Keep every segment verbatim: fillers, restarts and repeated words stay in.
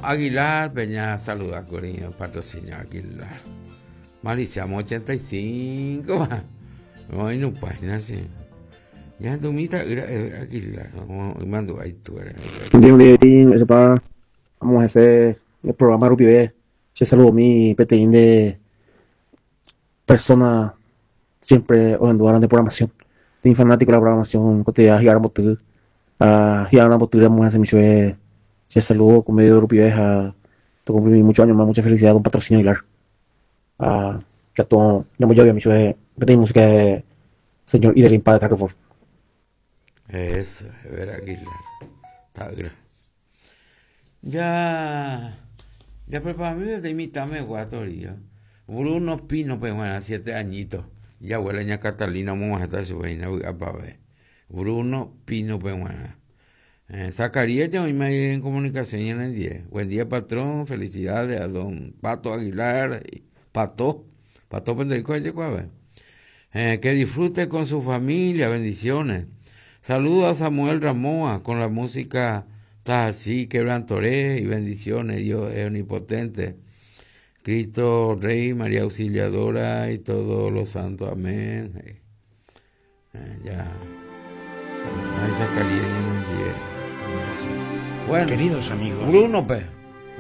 Aguilar, Peña saluda Corinio, patrocinio Aguilar. Maliciamo ochenta y cinco. Hoy no página sí. Ya dumita era Aguilar. Mando ahí tú eres. Vamos a hacer el programa rupive. Se saludo mi peteĩ de persona siempre ohendu de programación. Tengo fanático de la programación cotidiana hi'aramboty. Ah, hi'aramboty vamos a hacer mi se saludo con medio rupive a te cumplí muchos años más, mucha felicidad con patrocinio Aguilar. Ah, que todo, no yo mi peteĩ música de señor Idelín Padre Carrefour. Eso, ver Aguilar. Está Ya, ya prepárame de imitarme guatoría. Bruno Pino, pues bueno, siete añitos. Ya abuela ña Catalina, vamos a estar su pa ver. Bruno Pino, pues bueno. Eh, Zacarías ya hoy me en comunicación en el día. Buen día, patrón. Felicidades a don Pato Aguilar. Pato. Pato Pendejo, eh, que disfrute con su familia. Bendiciones. Saludos a Samuel Ramoa con la música así, quebrantoré y bendiciones. Dios es omnipotente. Cristo Rey, María Auxiliadora y todos los santos. Amén. Eh, ya. Ay, Zacarías ya no Bueno, queridos amigos. Bruno, pe.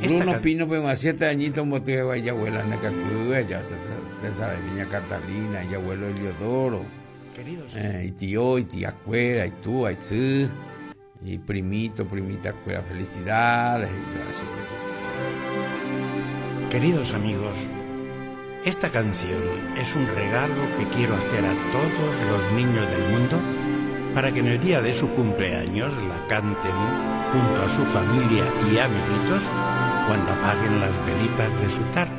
Bruno Pino, pe, más siete añitos, motivo y abuela Necatú, ya se te sabe, Viña Catalina, y abuelo Eliodoro. Queridos eh, y tío, y tía Cuera, y tú, y tú, y primito, primita Cuera, felicidades. Y eso. Queridos amigos, esta canción es un regalo que quiero hacer a todos los niños del mundo para que en el día de su cumpleaños la canten junto a su familia y amiguitos cuando apaguen las velitas de su tarta.